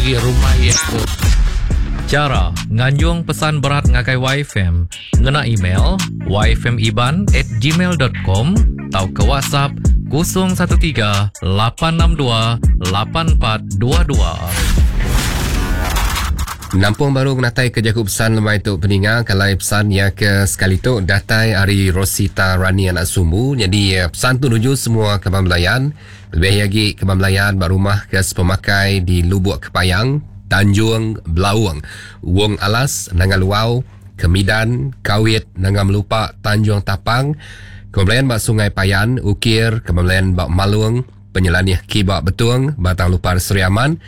Agi rumah iya tu. Chara nganjung pesan berat ngagai YFM ngena email yfmiban at gmail dot com tauka WhatsApp 013 862 8422. Nampung baru ngenatai ke jaku pesan lemai tu peninga kalai pesan iya ke sekali tu datai ari Rosita Rani anak Sumbu nyadi eh, pesan tu nuju semua kaban belayan Lebih agi keba belayan ba rumah ke sepemakai di Lubuk Kepayang, Tanjung Belaung, Wong Alas, Nanga Luau, Kemidan, Kawit, Nanga Melupa, Tanjung Tapang, keba belayan ba Sungai Payan, Ukir, keba belayan ba Malung, Penyelanih Kiba Betung, Batang Lupar Sri Aman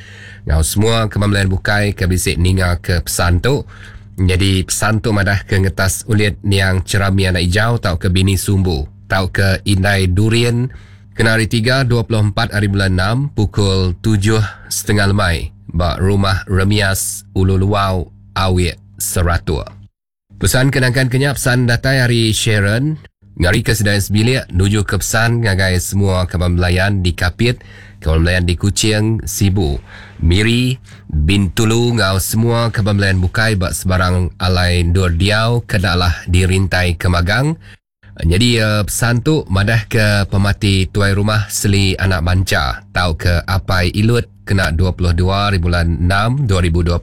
enggau semua keba belayan bukai ke bisi ninga ke pesan tu. Nyadi pesan tu madah ke ngetas ulit niang Cherami Anak Ijau tauka bini Sumbu tauka Indai Durin, Kena Hari Tiga, 24 hari bulan enam, pukul tujuh setengah lemai ba Rumah Remias, Ulu Luau, Awik, Seratok. Pesan ke nangkan ke nya pesan datai ari Sharon, ngarika sida sebilik nuju ke pesan ngagai semua kaban belayan di Kapit, kaban belayan di Kuching, Sibu, Miri, Bintulu enggau semua kaban belayan bukai ba sebarang alai endur diau ke enda alah dirintai ke magang. Nyadi pesan tu madahka pemati tuai rumah Seli Anak Mancha tauka Apai Ilut kena 22 hari bulan 6 2026.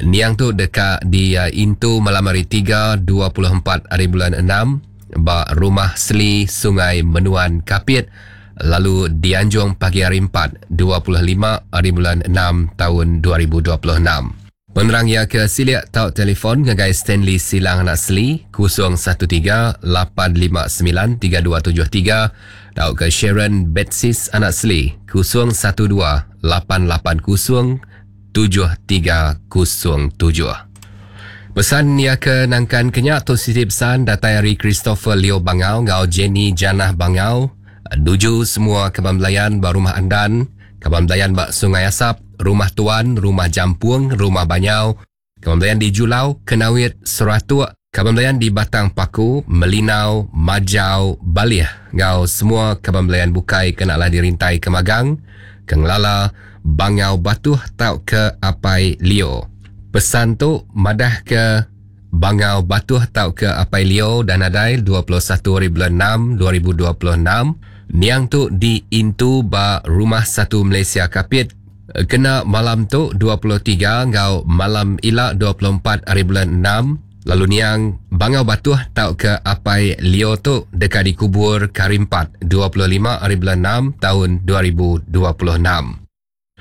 Niang tu deka diintu malam hari Tiga 24 hari bulan 6 ba Rumah Seli Sungai Menuan Kapit lalu dianjung pagi hari Empat 25 hari bulan 6 taun 2026. Penerang iya ke silik tau telefon ngagai Stanley Silang Anak Seli 013 859 3273 tauka Sharon Betsis Anak Seli 012 880 7307. Pesan iya ke nangkan ke nya tu siti pesan datai ari Christopher Leo Bangau enggau Jenny Janah Bangau nuju semua kaban belayan ba Rumah Andan Kaban Belayan ba Sungai Asap, Rumah Tuan, Rumah Jampung, Rumah Banyau, Kaban Belayan di Julau, Kenawit, Seratuk, Kaban Belayan di Batang Paku, Melinau, Majau, Balih enggau semua kaban belayan bukai ke enda alah dirintai ke magang, ke ngelala Bangau Batuh tauka Apai Leo. Pesan tu madahka Bangau Batuh tauka Apai Leo dah nadai 21 hari bulan enam 2026. Niang tu diintu ba Rumah Satu Malaysia Kapit kena malam tu 23 enggau malam ila 24 hari bulan enam lalu niang Bangau Batuh tauka Apai Leo tu deka dikubur ke hari Empat 25 hari bulan enam taun 2026.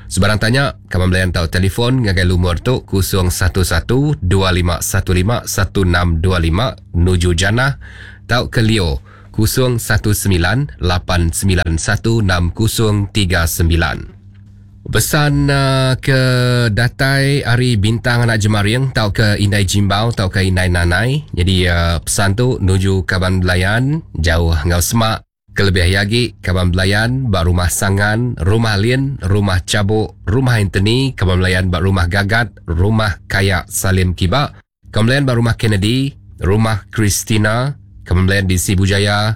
Sebarang tanya, kaban belayan tau telefon ngagai lumur tu 011 2515 1625 nuju Janah tauka Leo 019 891 6039. Pesan uh, ke datai ari Bintang Anak Jemaring tauka Indai Jimbau tauka Indai Nanai. Jadi uh, pesan tu nuju kaban belayan jauh enggau semak Kelebih iya agi, kaban belayan ba Rumah Sangan, Rumah Lin, Rumah Chabok, Rumah Anthony, kaban belayan ba Rumah Gagat, Rumah Kaya Salim Kiba, kaban belayan ba Rumah Kennedy, Rumah Christina, kaban belayan di Sibu Jaya,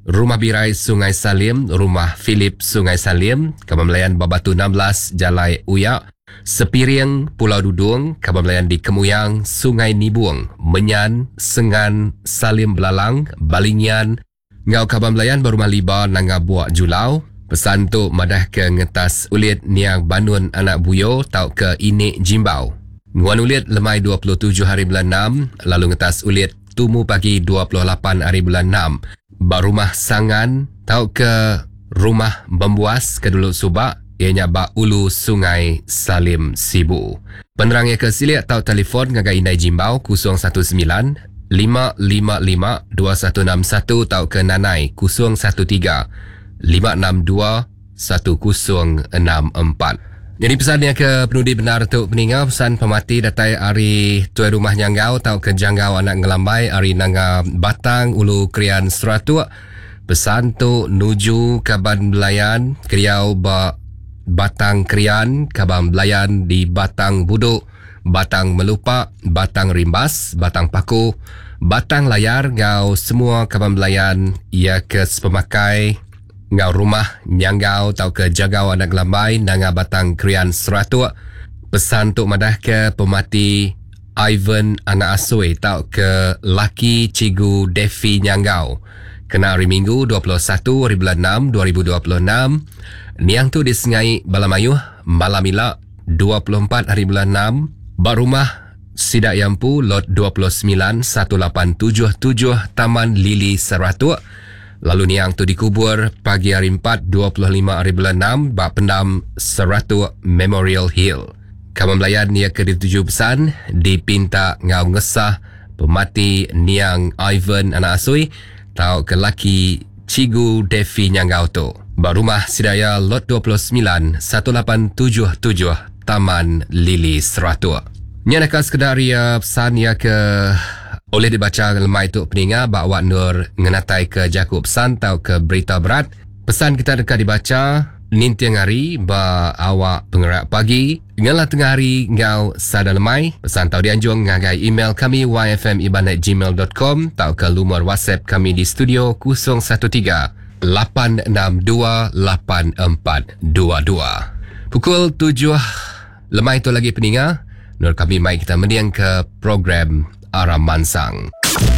Rumah Birai Sungai Salim, Rumah Philip Sungai Salim, kaban belayan ba Batu 16 Jalai Uyak, Sepiring, Pulau Dudung, kaban belayan di Kemuyang, Sungai Nibung, Menyan, Sengan, Salim Belalang, Balingian, Enggau kaban belayan ba Rumah Liba Nanga Buak Julau, pesan tu madahka ngetas ulit niang Banun anak Buyo tauka Inik Jimbau. Nguan ulit lemai 27 hari bulan enam lalu ngetas ulit tumu pagi 28 hari bulan enam ba Rumah Sangan tauka Rumah Bembuas ke dulu suba iya nya ba Ulu Sungai Salim Sibu. Penerang iya ke silik tau telefon ngagai Indai Jimbau 019 555 2161 tauka Nanai 013 562 1064. Nyadi pesan iya ke penudi bendar tu peninga pesan pemati datai ari tuai rumah Nyanggau tauka Janggau anak Ngelambai ari Nanga Batang Ulu Krian Seratuk. Pesan tu nuju kaban belayan keriau ba Batang Krian, kaban belayan di Batang Buduk, Batang Melupa, Batang Rimbas, Batang Paku, Batang Layar enggau semua kaban belayan iya ke sepemakai enggau rumah Nyanggau tauka Jagau Anak Gelambai Nanga Batang Krian Seratuk. Pesan tu madah ke pemati Ivan Anak Asui tau ke laki Cikgu Devi Nyanggau. Kena hari Minggu 21 hari bulan 6 2026, niang tu disengai bala mayuh malam ila 24 hari bulan 6 ba rumah sida Yampu lot 29 1877 Taman Lili Seratuk. Lalu niang tu dikubur pagi hari 4 25 hari bulan 6 ba pendam Seratuk Memorial Hill. Kamu melayan ia ke dituju pesan dipinta ngau ngesah pemati niang Ivan Anak Asui tau ke laki Cikgu Devi Nyanggau tu. Ba rumah Sidaya Lot 29 1877 Taman Lili Seratuk. Nya nak sekedar ia pesan ia ke oleh dibaca lemai tu peninga ba awak nur ngenatai ke jaku pesan tau ke berita berat. Pesan kita dekat dibaca ninting hari ba awak pengerak pagi ngalah tengah hari ngau sada lemai. Pesan tau dianjung ngagai email kami yfmiban@gmail.com tau ke lumur WhatsApp kami di studio 013 862 8422. Pukul 7 lemai tu lagi peninga, nur kami mai kita mendiang ke program Aram Mansang.